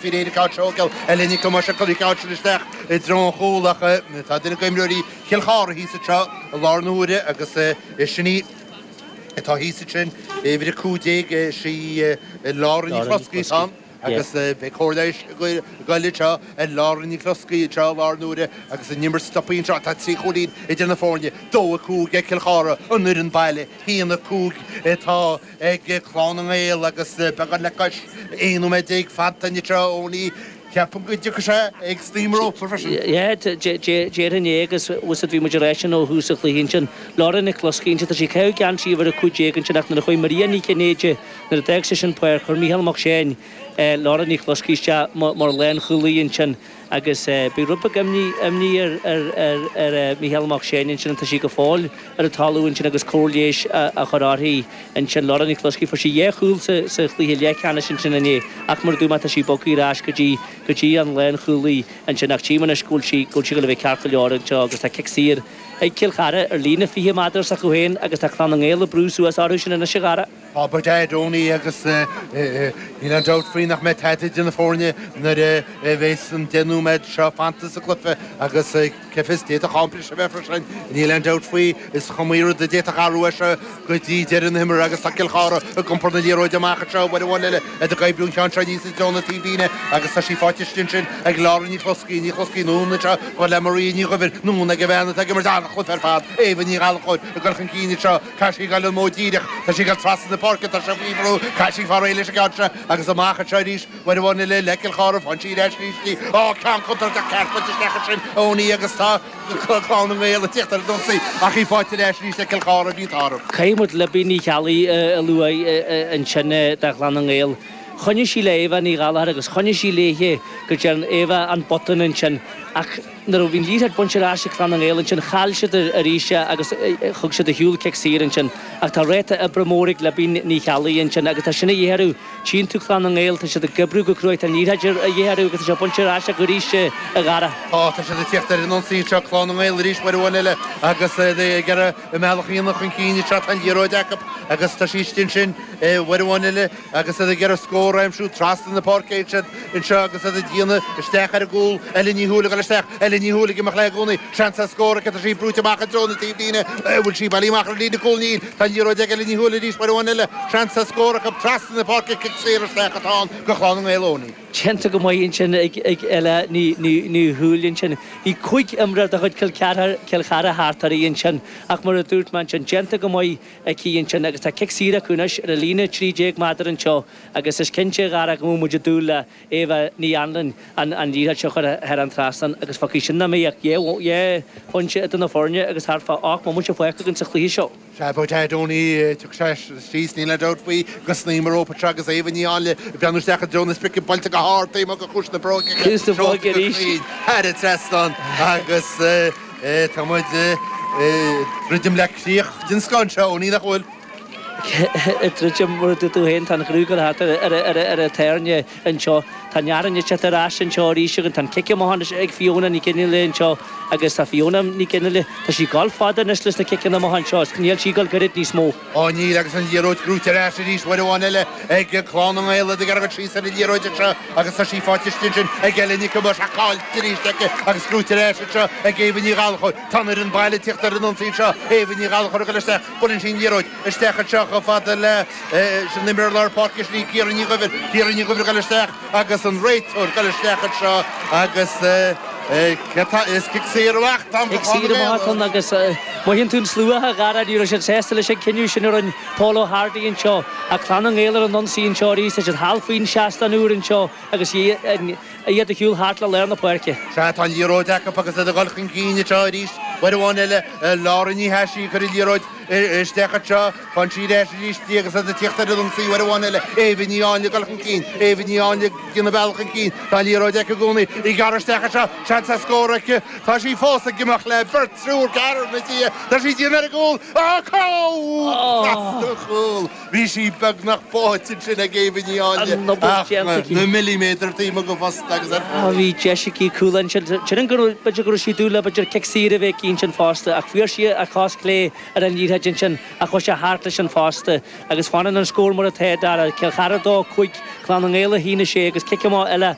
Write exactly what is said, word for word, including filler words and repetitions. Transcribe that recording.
Bhí réir ceann eile ní cuma se chu ceann isteach i dtreo an chúil ach tá duine d'imreoirí Chill Chartha thíos anseo i láthair na huaire agus sin í atá thíos ansin uimhir a cúig déag sí Laura Ní Chloscaí ann agus beidh cóir leighis ag dul anseo ar Laura Ní Chloscaí anseo i láthair na huaire agus an imirt stoptha anseo tá trí chúilín idir na foirne dó a cúig ag Cill Chartha an fhoireann baile haon a cúig atá ag Clann na nGael agus beagán le cois aon nóiméad déag fanta anseo Owenie ceapaim go dtiocfaidh sé ag snaidhm rópa freisin. Yeah, déarfainn é agus bhí muid ag rá sin ó thús an chluiche ansin. Laura Nic Chloscaí ansin, tá sí ag caitheamh geansaí uimhir a cúig déag ansin ach nuair a chuaigh Maria Ní Chinnéide, nuair a d'fhág sise an pháirc, chuir Mícheál Mac Seáin Laura Ní Chloscaí isteach mar lánchúlaí ansin agus bhí rud beag imní imní ar ar ar ar Mícheál Mac Seáin ansin tá sí go fóill ar an talamh ansin agus cóir leighis á chur uirthi ansin Laura Ní Chloscaí fuair sí dhá chúl sa sa chluiche leathcheannais ansin inné ach mar a dúirt mé tá sí bogtha ar ais go dtí go dtí an lánchúlaí ansin ach tchím anois go bhfuil sí go bhfuil sí ag dul a bheith ceart go leor anseo agus tá cic saor ag Cill Chartha ar líne fiche méadar s'acu féin agus tá Clann na nGael ag brú suas orthu sin anois a Dhara. Tá ba dead Owenie agus níl aon dabht faoi nach mbeidh tada idir na foirne nuair a bheas an deich nóiméad seo fanta sa gcluiche agus cé fios d'fhéadfadh am breise a bheith freisin. Níl aon dabht faoi is cuma rud a d'fhéadfadh athrú é seo go dtí deireadh na himeartha agus tá Cill Chartha ag iompar na liathróide amach anseo uair amháin eile ag oibriú an ceann seo aníos i dtreo na taobhlíne agus tá sí faighte ansin ag Laura Ní Chloscaí Ní Chloscaí anonn anseo go le Maria Ní Dhuibhir anonn ag a bhean atá ag imirt an-chluiche ar fad Éabha Ní Ghallchóir ag dul chun cinn anseo caithfidh sí dul an modh díreach tá sí ag dul trasna na páirce tá sé faoi bhrú caithfidh sí fáil réidh leis an gceann seo agus amach anseo arís uair amháin eile le Cill Chartha faigheann sí ar ais arís í á ceann contúirteach ceart bainte isteach ansin Owenie agus tá Clann na nGael ag tíocht ar an ionsaí ach í faighte ar ais arís le Cill Chartha bhí an Caithfidh muid Libby Ní Cheallaigh a lua ansin do Chlann na nGael. Choinnigh sí le Éabha Ní Ghallchóir agus choinnigh sí léithe go dtearn Éabha an botún ansin ach nuair a bhí an liathróid bainte ar ais ag Clann na nGael ansin chaill siad arís agus thug siad ar shiúl cic saor ansin ach tá ráta oibre mór ag Libby Ní Cheallaigh ansin agus tá sin a dhíth orthu. Tchíonn tú Clann na nGael tá siad ag oibriú go cruaidh tá an liathróid a dhíth orthu agus tá sé bainte ar ais acu arís a Dhara. Tá tá siad ag tíocht ar an ionsaí seo Clann na nGael arís uair amháin eile agus ag iarraidh a mbealach a dhéanamh chun cinn anseo tá an liathróid acu agus tá sí istigh ansin uair amháin eile agus iad ag iarraidh scór a aimsiú trasna na páirce siad anseo agus iad ag déanamh isteach ar an gcúl Eile Ní Thuathail ag dul isteach Eile Ní Thuathail ag imeacht léi i gcónaí seans ar scór aici tá sí brúite amach i dtreo na taobhlíne bhfuil sí bailithe amach ar líne cúil níl tá an liathróid ag Eile Ní Thuathail arís uair amháin eile seans ar scór acu trasna na páirce cic saor isteach atá ann go Chlann na nGael Owenie. Déanta go maith ansin ag ag Eile Ní Ní Thuathail ansin. Bhí cúig imreoir de chuid Cill Chartha thart uirthi ansin ach mar a dúirt mé ansin déanta go maith aici ansin agus tá cic saor acu anois ar a líne trí déag méadar anseo agus is cinnte a Dhara go bhfuil muid ag dúil le Éabha Ní Anluain an an liathróid seo a chur thar an trasnán agus fágfaidh sin nach mbeidh ach dhá phointe idir na foirne agus thart fá ocht mbomaite fágtha againn sa chluiche seo. Sea, ba é Owenie tiocfaidh sé síos níl aon dabht faoi go snaidhm an rópa anseo agus Éabha Ní Áinle ag breathnú isteach i dtreo na sprice buailte go hard taobh amuigh de chluais na bróige Cúis na bróige arís. Thar an trasnán agus tá muid druidim le críoch den scoth anseo Owenie nach bhfuil. Druidim mar a dúirt tú féin tá an ghrúig thart ar ar an tairne anseo. Tá neart an teacht ar ais anseo arís agus tá an cic amach anois ag Fiona Ní Gheinnealaigh anseo agus tá Fiona Ní Gheinnealaigh tá sí ag dul fada anois leis na ciceanna amach anseo níl sí ag dul gairid níos mó. Á níl agus an liathróid gnóite ar ais arís uair amháin eile ag Clann na nGael ag iarraidh síos ar an liathróid anseo agus tá sí faighte ansin ag Eile Nic caillte arís aici agus gnóite ar ais anseo ag Éabha Ní Ghallchóir. Tá an fhoireann baile ag tíocht ar an ionsaí anseo Éabha Ní Ghallchóir ag dul isteach buaileann sí an liathróid isteach anseo chomh fada le sin imreoir lár páirce sin í Ciara Ní Dhuibhir Ciara Ní Dhuibhir ag dul isteach agus an réiteoir ag dul isteach anseo agus is cic saor amach Cic saor amach agus mothaíonn tú an slua a Dhara ní raibh siad sásta leis an cinneadh sin a rinne Paul O'Hardy anseo a Clann na nGael ar an ionsaí anseo arís tá siad thall faoin seastán úr anseo agus iad ag siúl thart le lár na páirce. Sea tá an liathróid acu agus iad ag dul chun cinn anseo arís uair amháin eile Laura Ní Thaisí ag cur an liathróid isteach anseo faigheann sí ar ais arís í agus iad ag tíocht ar an ionsaí uair amháin eile Éabha Ní Áinle ag dul chun cinn Éabha Ní Áinle ag déanamh bealach chun cinn tá an liathróid aici i gcónaí í gearr isteach anseo seans ar scór aici tá sí fós ag imeacht le beirt triúr ceathrar na dia tá sí déanamh ar an gcúl á trasna an chúl bhí sí beagnach báite ansin ag Éabha Ní Áinle ach na milliméadar taobh amuigh den phosta agus ar Bhí deis aici cúl ansin sin go b'fhéidir go raibh sí dúil le b'fhéidir cic saor a bheith ansin fosta ach fuair sí a cos clé ar an liathróid liathróid ansin ach chuaigh sé thart leis an phosta agus fanann an scór mar atá Dara Cill Chartha dó cúig Clann na nGael a haon a sé agus cic amach eile